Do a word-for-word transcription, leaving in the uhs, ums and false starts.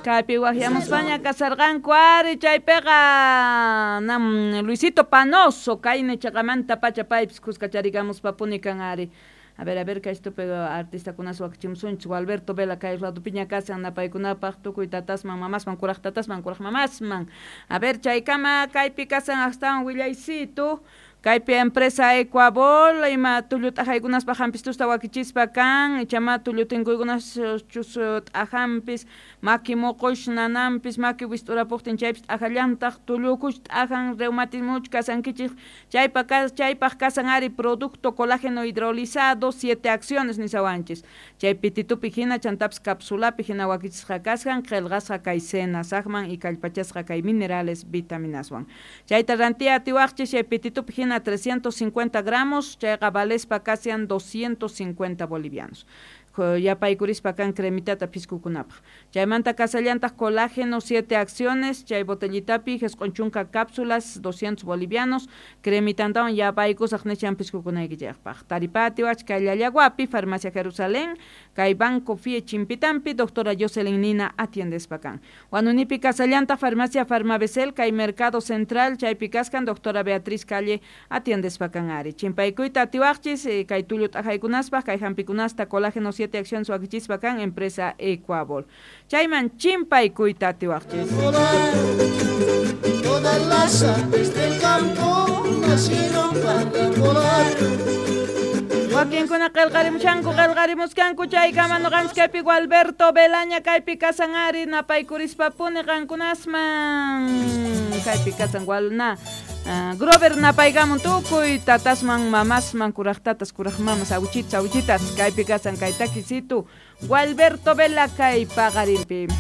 Kaypi waqyamuspaña kasarqanku ari chaypiqa nam Luisito Panoso kayni chaqamanta pacha paypis kuskacharikamuspapuni kan ari. A ver, a ver, kay estupe artistakunas wakichimusunchik Alberto Vela kay radupiña kasan napaykunapaq tukuy tatasman mamasman kuraq tatasman kuraq mamasman. A ver, chaykama kaypi kasan astawan willaysitu kaypi empresa Ecuabol ima tullu t'ajaykunaspaq hampistusta wakichispa kan ichama tullu tinkuykunas chus t'ajanpis maki muqush nananpis maki wist'urapuqtin chaypis t'ajallantaq tullukush t'ajan reumatismuch kasankichik chaypa chaypaq kasan ari producto colágeno hidrolizado siete acciones nisawanchis chay pititupi hina chantapis capsulapi hina wakichisqa kashan qillqasqa kay senasaqman y kallpachasqa kay minerales vitaminaswan chayta rantiya atiwaqchis chay pititupi hina trescientos cincuenta gramos, chayqa valespa kasian doscientos cincuenta bolivianos. Yapaykurispa kan cremitata piskukunapaq. Chaymanta kasallantaq colágeno siete acciones, chay botellitapi jisq'un chunka cápsulas doscientos bolivianos, cremitantawan yapaykusaq nishan piskukunaykichikpaq. Taripatiwach kay Llallaguapi, Farmacia Jerusalén, kay Banco F I E Chimpitampi, doctora Jocelyn Nina atiendespa kan. Wanunipi kasallantaq Farmacia Farmabesel, kay Mercado Central, chaypi kaskan doctora Beatriz Calle atiendespa kan ari. Chimpaykuyta atiwaqchis, kay tullu t'ajaykunaspaq, kay hampikunasta colágeno siete acciones wakichispa kan empresa Ecuabol. Chayman chimpaykuyta atiwaqchis. Todas las aves del campo nacieron para volar. Wakinkuna qillqarimushanku qillqarimuskanku chaykama nuqanchik kaypi Alberto Belaña kaypi kasan ari napaykurispa-puni qankunasman kaypi kasan walna Uh, Grover napaykamun tukuy tatasman mamasman kuraq tatas kuraq mamas awichitas awichitas kaypi kasan kay takisitu Gualberto Vela kay paqarinpi.